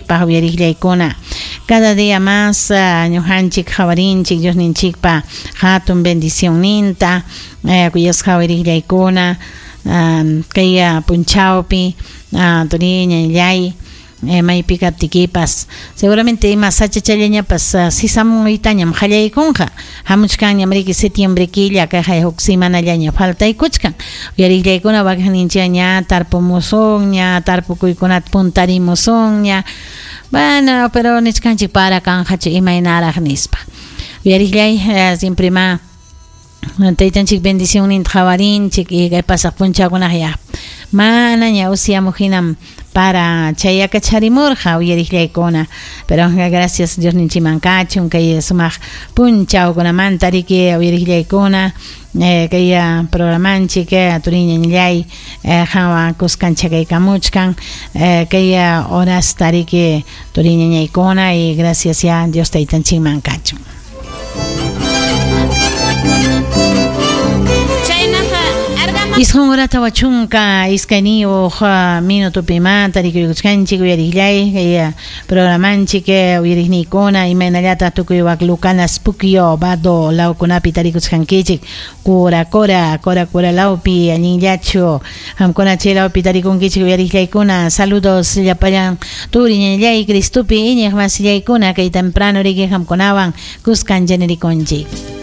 ñuqanchikpaq uyariqllaykuna. Cada día más ñuqanchik qhawarinchik Diosninchikpa hatun bendicionninta kuyasqa uyariqllaykuna kay punchawpi turiñallay maypi kaptikipas seguramente ima sachachallañapas sisamuytañam qallaykunqa hamuchkanñam riki septiembre killa kayqa huk semanallaña faltaykuchkan uyariqllaykuna wakinninchik ña tarpumusunña tarpukuykunata puntarimusunña bueno pero nichkanchik para kanqachu imaynaraq nispa uyariqllay siempre ma taytanchik bendicionninta qhawarinchik y kay pasaq punchawkunaq ya manaña usyamuq hinam para chayakacharimurqa uyariqllaykuna pero gracias Diosninchikman kachun kay sumaq punchawkunamanta riki uyariqllaykuna kay programanchik turiñallay qanwan kuskancha kaykamuchkan kay horasta riki turiñañaykuna y gracias ya Dios taytanchikman kachun. Isqun hora 42 minutupimanta rikuykuchkanchik uyariqllay kay programanchik uyariqniykuna imaynallataq tukuy wak Lucanas Puquio Vado lawkunapi tarikuchkankichik Cora Cora Cora Cora lawpi allinllachu qamkuna chay lawpi tarikunkichik uyariqllaykuna saludos llapallan turiñallay Cristopi iñiq masillaykuna kay temprano riki qamkunawan kuskancha nirikunchik.